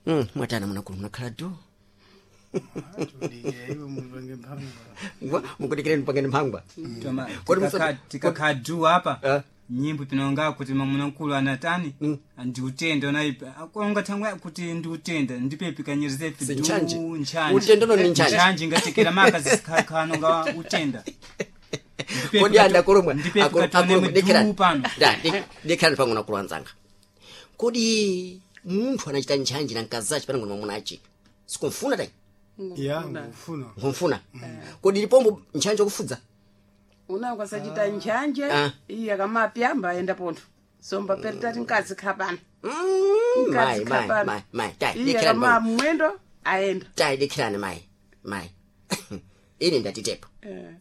Mwatana munakulu munakhala du. Tudikira iwe mupange mphangwa. Mukudikireni mpangeni mphangwa. Toma, Kodi tikakha du apa Eh. nyimbo pinonga kuti mamunakulu anatani ndiutenda unaipa akonga thangwe kuti ndiutenda ndipepi kanyerizepi Si du ntchanje. ntchanje Utenda no ni ntchanje. ntchanje ngatekera maka zikhakhano nga utenda Ndipepi Kodi andakulumwa ndipepi katione du pano. Dikirani pang'ono akulu anzanga. Kodi munthu anachita ntchanje na mkazachi panango ni mwamunachi sikumfuna tayi? Ya, ngufuna. Nkumfuna. Kodi lipombo ntchanje okufudza? Unango asachita njanje. Ah. Iye akamapyamba ayenda pontho somba peritati mkazi khapana. Mayi, Mkazi mayi, khapana. mayi, mayi, tayi Iye dikirani akama pang'ono. mwendo ayenda. Tayi dikirani mayi, mayi. Ine ndatitepo. Eh.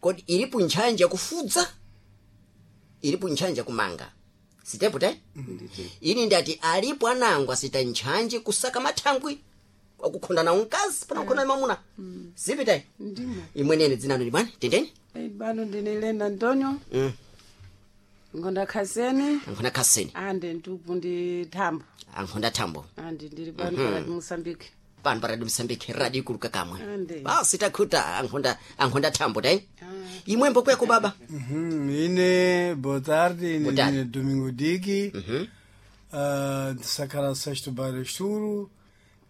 Kodi ilipo ntchanje yakufudza, ilipo ntchanje yakumanga, sitepo te? Ini ndati alipo anango asita ntchanje kusaka mathangwi akukhonda nawo mkazi pana kukhonda na mamuna, sipi te? Ndimo. Imwenene dzinano libwani tendeni. Eh, bano ndine Elena Antonio. Ngonda khaseni. Ankhonda khaseni. Ande ntupu ndi thambo. Ankhonda thambo. Ande ndili pano pakati Mosambike. Pano pa Radio Msambiki, radio ikulu kakamwe. Ande. Basi takhuta ankhonda, ankhonda thambo te. Imwembo kweko baba. Ine, boa tarde, ine Boa tarde. ndine Domingo Diki. Ndisakhala sexto bairro Esturo.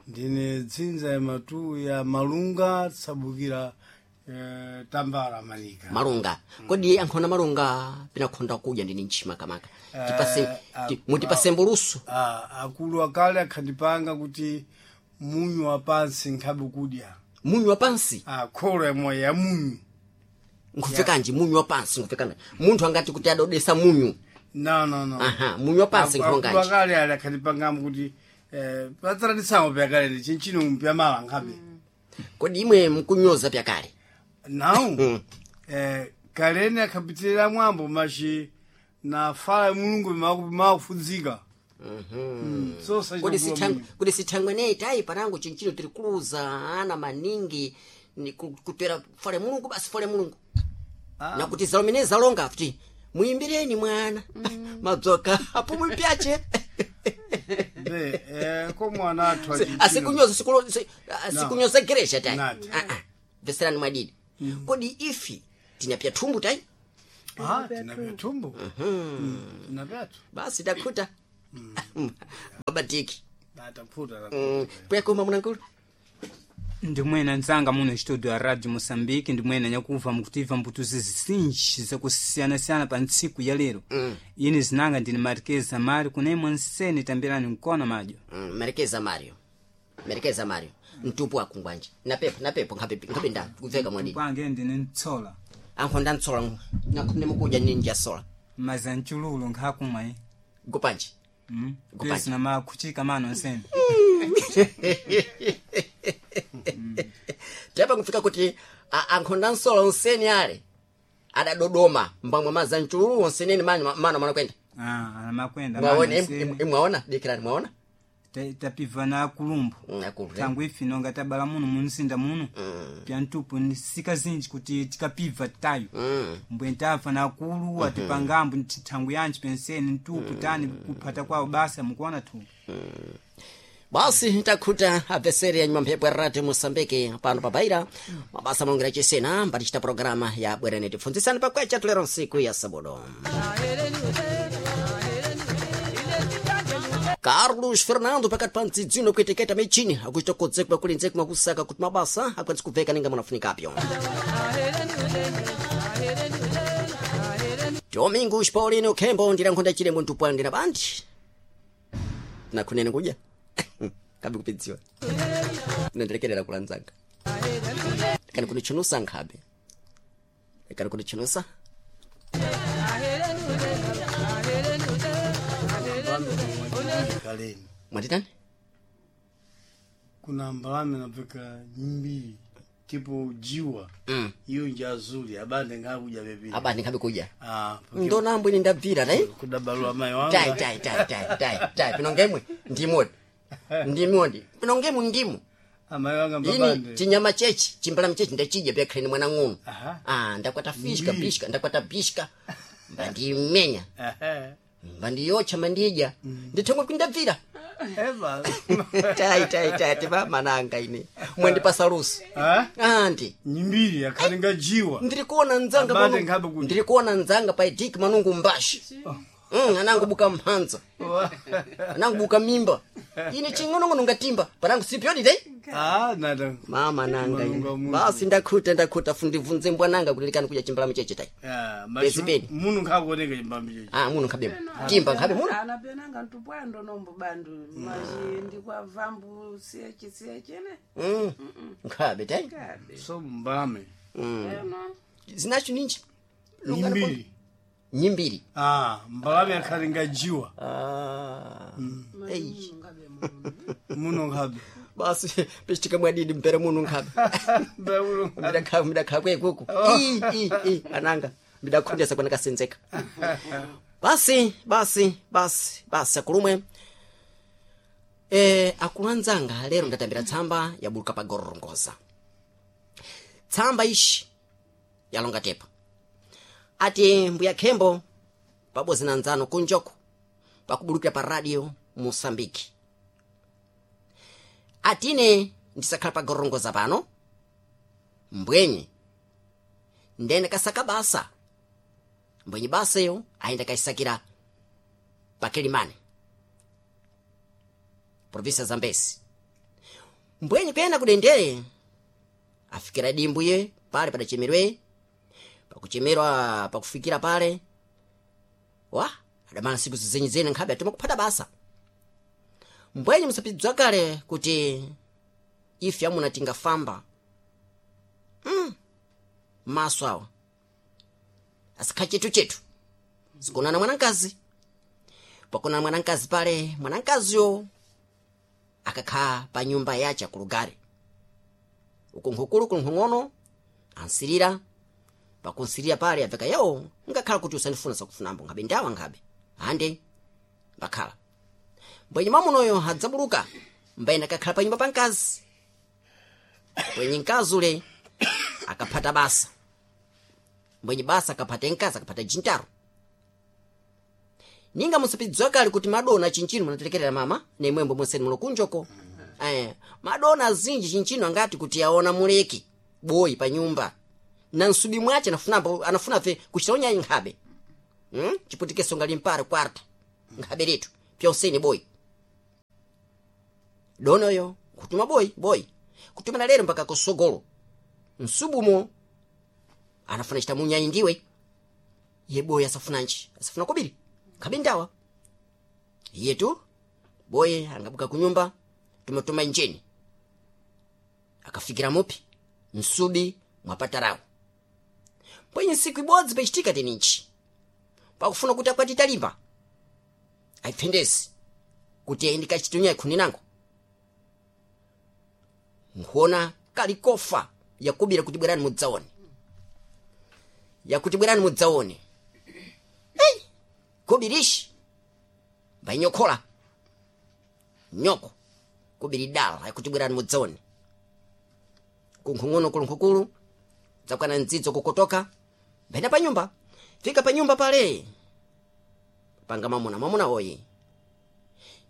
Ndine dzinza ya matu ya Malunga, tsabukira Tambara Manika. Malunga. Kodi ankhonda malunga pinakhonda kudya ndini ntchima kamaka? Tipase mutipase mbulusu. Ah, akulu akale akhandipanga kuti munyu wa pansi nkhabe kudya. Munyu wa pansi? Ah, kholo yamwe ya munyu. Nkupfekanji munyu wa pansi nkupfekana? Munthu angati kuti adodesa munyu? No, no, no. Aha, munyu wa pansi Akulu nkhonganji? akale ali akhandipangamo kuti pa tradição pyakale ndi chinchino mpyamala nkhabe. Kodi imwe mkunyoza pyakale? Não. Kalene akhapitirira mwambo machi na fala ya mulungu makufudzika. So Kodi sithangwe, kodi sithangwe neyi tayi panango chinchino tiri kuluza ana maningi ni kutera fale mulungu basi fale mulungu. Nakuti zalomene zalonga futi muyimbireni mwana madzoka apo mupyache. Be, ko mwana athu achichino. Asikunyoza sikunyoza geresha tayi. Nati. Ah, ah. Veserani mwadidi. Kodi ifi tinyapya thumbu tayi? Ah, tinapya thumbu. Tinapyatu. Basi takhuta. Babatiki. Atakhuta. Kwekoma munankulu. Ndimwena nzanga muno studio ya Radio Mosambike, ndimwena nyakuva mukutiva mbutuzi zisinji zakusiyanasiyana pa ntsiku ya lero. Ine zinanga ndine Marquez Mari kunemwe nsene tambirani nkona madyo. Merekeza Mario, merekeza Mario mtupu akungwanje napepo napepo nkhabe nkhabe nda kubveka mwadidi. Kwange ndine ntsola. Ankhonda ntsola nakhonde mukuja ninja sola. Maza nchululo nkhakumwa eh. Gopanje. Gopanje. Pesi na makuchika mano nsene. Tepa kufika kuti ankhonda nsola onseni ale adadodoma mbamwe maza nchululu onseneni mano mano mano kwenda. Ah, ana makwenda Mwaona mano nsene. imwaona dikirani mwaona. Tapiva na kulumbu. Akulu. Tangu ifi nonga tabala muno munsinda muno. Pya ntupu ni sika zinji kuti tikapiva tayo. Mbwe ntafa na akulu atipangambo nti thangu yanji penseni ntupu tani kuphata kwawo basa mukuona tu. Basi takhuta abveseri ya nyuma mphepo ya Radio Mosambiki pano pabaira mabasa malongira chisena mbatichita programa ya bwerene tifunzisani pakwecha tulero nsiku ya sabodo. Carlos Fernando pakati pa mdzidzino kuiteketa michini akuchita kodzekwa kuli ndzekwa kusaka kuti mabasa akwanise kubveka ninga munafunikapyo. Domingos Paulino Kembo ndilankhonda chilemo ntupwandi na bandi nakhunene kudya kabe kupidziwa nandilekerera kulanzanga kani kunichunusa nkhabe kani kunichunusa. Kaleni. Mwatitani? Kuna mbalame napeka mbili tipo jiwa. Iyo nja azuli abande ngakuja bebili. Abandi nkhabe kudya. Ah, Ndonambo ine ndabvira tai. kudabalwa mai wanga. Tai tai tai tai tai tai pinongemwe ndimodi ndimodi pinongemwe ndimu. Amai wanga Ini mbabande. chinyama chechi chimbalame chechi ndachidya pyakhaleni mwana ng'ono. Aha. Ah, ndakwata fishka bishka ndakwata bishka mbandimenya Ehe. mbandiyotcha mandidya ndithomwe kundabvira. Eba. Tai tai tai tipa mananga ine. Mwendipasa luso. Ah? Andi. Nyimbiri yakhalinga jiwa. Ndiri kuona nzanga Abate pano- nkhabe kuti. ndiri kuona nzanga pa idiki manungu mbashi. Anangu buka mhanza. Anangu buka mimba. Ine ching'onong'ono ngatimba. Panangu sipyodi dei. Ah, nada. Mama nanga ine. Malunga muntu. Basi ndakhuta ndakhuta fundivunze mbwananga kuti likani kudya chimbalame cheche tai. Ah, Pesi peni. Munu nkhakuoneka chimbambi cheche. Ah, muno nkhabe. Timba nkhabe muno. Ana penanga ntupwando nombo bandu machi ndikwavambu siyechi siyechene. Nkhabe tai. Kabe. So mbame. Eno. Zinacho ninji. Nyimbiri. Nyimbiri. Ah, mbalame yakhalinga jiwa. Ah. Ei. Ngabe muno. Muno nkhabe. Basi pichitika mwadidi mpere muno nkhabe. Mbe muno nkhabe. Ndidakha ndidakha kwekuku. I i i ananga ndidakhundesa kwana kasenzeka. Basi basi basi basi akulumwe. Akulu anzanga lero ndatambira tsamba yabuluka pa gorongoza. Tsamba ishi yalonga tepa. Ati mbuya khembo pabodzi na nzano kunjoko pakubulukira pa radio Mosambiki. Atine ndisakhala pa gorongoza pano mbwenye ndene kasaka basa mbwenye baseyo ayenda kaisakira pakilimani provinsi ya zambesi mbwenye kuyenda kudendere afikira dimbuye pale padachemerwe pakuchemerwa pakufikira pale wa adamala siku zizenyizene nkhabe atoma kuphata basa mbwenye musapidzwa kale kuti ife amuna tingafamba maso awa asikha chetu chetu sikonana mwanankazi pakonana mwanankazi pale mwanankaziyo akakhala pa nyumba yace akulugale uku nkhukulu kuli nkhung'ono ansirira pakunsirira pale abveka yewo ngakhala kuti usandifuna sakufunambo nkhabe ndawa nkhabe ande mbakhala mbwenye mwamunoyo adzabuluka mbayena akakhala pa nyumba pa mkazi mbwenye mkazi ule akaphata basa mbwenye basa akaphata mkazi akaphata jintaro ninga musapidzwa kale kuti madona chinchino munatelekerera mama nemwembo mweseni muno kunjoko madona azinji chinchino angati kuti aona muleki boyi pa nyumba na nsubi mwace anafunambo anafunafe kuchita unyayi nkhabe chiputikeso ngali mpare kwarto nkhabe letu pyonseni boyi donoyo kutuma boyi boyi kutumana lero mpaka kusogolo msubumo anafuna chita munyayi ndiwe ye boyi asafunanji asafuna kobiri nkhabe ndawa iyetu boye angabuka kunyumba tumatuma njeni akafikira mupi msubi mwapatarawo pwenye nsiku ibodzi pachitika teninchi pakufuna kuti akwati talimba ayipfendezi kuti ayindikachitunya ikhuni nango nkuona kali kofa yakubira kuti bwerani mudzaone yakuti bwerani mudzaone ei kobirishi mbayinyokhola nyoko kubiri dala yakuti bwerani mudzaone kunkhung'ono kulunkhukulu dzakwana ndzidzo kukotoka mbaenda pa nyumba fika pa nyumba pale panga mwamuna mwamuna oyi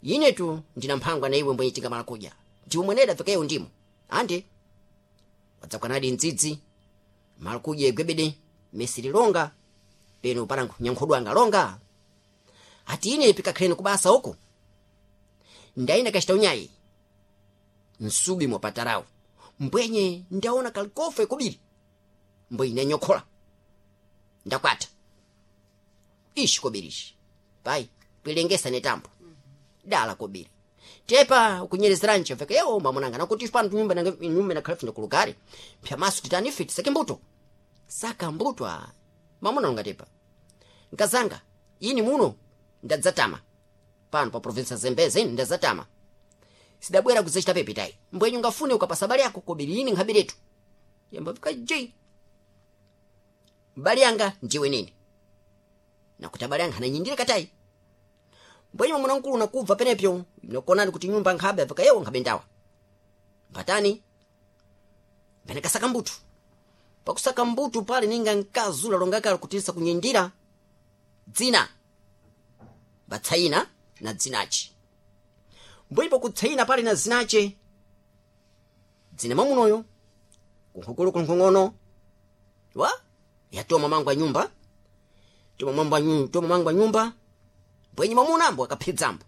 inetu ndina mphangwa na iwe mbwenye tingamala kudya ndiwe mweneda fikeyo ndimo andi wadzakwanadi ndzidzi mala kudya igwebede mesiri longa peno panango nyankhodo anga longa ati ine pikakhaleni kubasa uku ndayina kachita unyayi msubi mwapatarawo mbwenye ndaona kalikofe kubiri mbwenye ndanyokhola ndakwata ishi kobirishi pai kwilengesa netambo dala kobiri tepa ukunyerezeranji veka yewo mamunanga nakuti pano nyumba nyumba nakhala fina kulugare pyamaso titani ife tisake mbuto saka mbuto a mamuna ungatepa nkazanga ini muno ndadzatama pano pa provinsi ya zembeze ine ndadzatama sidabwera kudzachita pepe tayi mbwenye ungafune ukapasa bali yako kobiri ine nkhabiretu yamba vika jei bali yanga njiwe nini nakuti abale anga ananyindira katayi mbwenye mwamuna mkulu nakubva penepyo nokonani kuti nyumba nkhabe avika yewo nkhabe ndawa mbatani mbene kasaka mbutu pakusaka mbutu pale ninga nkazula longakala kutisa kunyindira dzina batsaina na dzinachi Mbwepo kutsaina pale na zinache dzina mwamunoyo kunkhukulu kunkhung'ono wa yatoma mangu a nyumba, toma mangu a nyumba. Mbwenye mwamunambo akaphedzambo,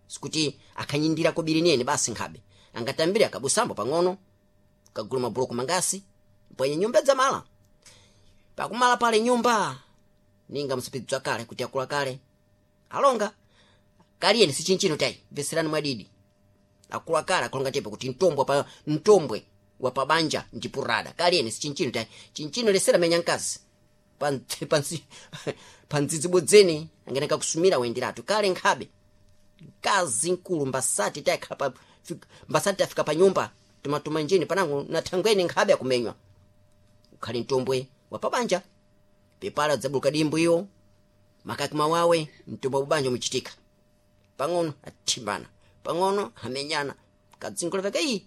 sikuti akhanyindira kobiri nene basi nkhabe angatambire akabusambo pang'ono kagula mabuloko mangasi mbwenye nyumba dzamala pakumala pale nyumba ninga msipidza kale kuti akula kale alonga kaliyeni si chinchino tayi mveserani mwadidi akula kale akulonga tepo kuti mtombwe pa mtombwe wa pabanja ndipurada kaliyeni si chinchino tayi chinchino lesera menya mkazi pandzidzibodzeni angeneka kusumira wenderatu kale nkhabe mkazi mkulu mbasati tayakhala pa mbasati tafika pa nyumba tumatuma njini panango na thangweni nkhabe akumenywa ukhali mtombwe wa pabanja pepala dzabuluka dimbu iyo makaki mawawe mtombwe wa pabanja umuchitika pang'ono athimbana pang'ono amenyana kadzingoloveka iyi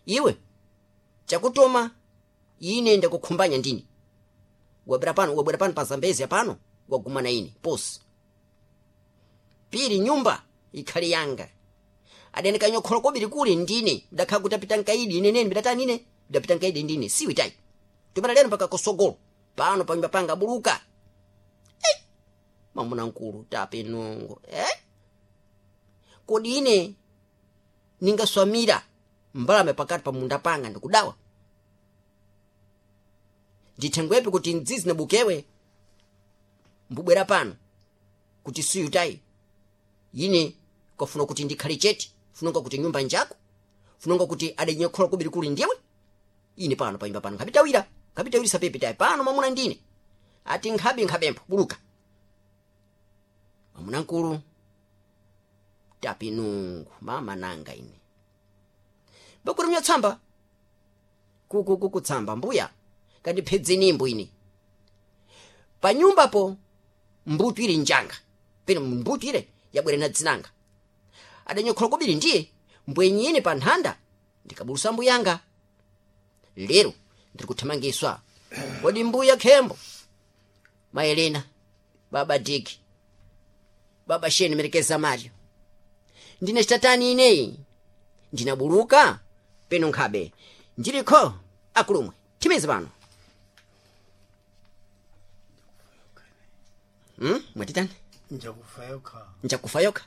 iwe chakutoma ine ndakukhumbanya ndini wabwera pano wabwera pano pa Zambezi apano wagumana ine posi pili nyumba ikhali yanga adene kanyokhola kobiri kuli ndine ndakhala kuti apita nkaidi ine nene bidatani ine bidapita nkaidi ndine siwi tayi tumana lero mpaka kosogolo pano panyumba panga abuluka eh! Mamuna nkulu tape nongo eh? Kodi ine ningaswamira mbalame pakati pa munda panga ndikudawa ndithengwepi kuti mdzizi nabukewe mbubwera pano kuti siyutayi ine kafuna kuti ndikhale chete funonga kuti nyumba njako funonga kuti adanyekhola kubiri kuli ndiwe ine pano panyumba pano nkhabitawira nkhabitawirisa pepe tayi pano mwamuna ndine ati nkhabe nkhabempho buluka mwamuna nkulu tapi nungu mama nanga ine bakuti mnyatsamba kukukukutsamba mbuya kandiphedzeni imbo ine panyumbapo mbutu ili njanga peno mbutu ile yabwera na dzinanga adanyokhola kobiri ndiye mbwenyine pa nthanda ndikabulusa mbuyanga lero ndiri kuthamangiswa kodi mbuya khembo maelena baba diki baba sheni merekeza mario ndine chitatani ineyi ndinabuluka peno nkhabe ndilikho akulumwe thimizi pano mwatitani Njakufa yokha. Njakufa yokha.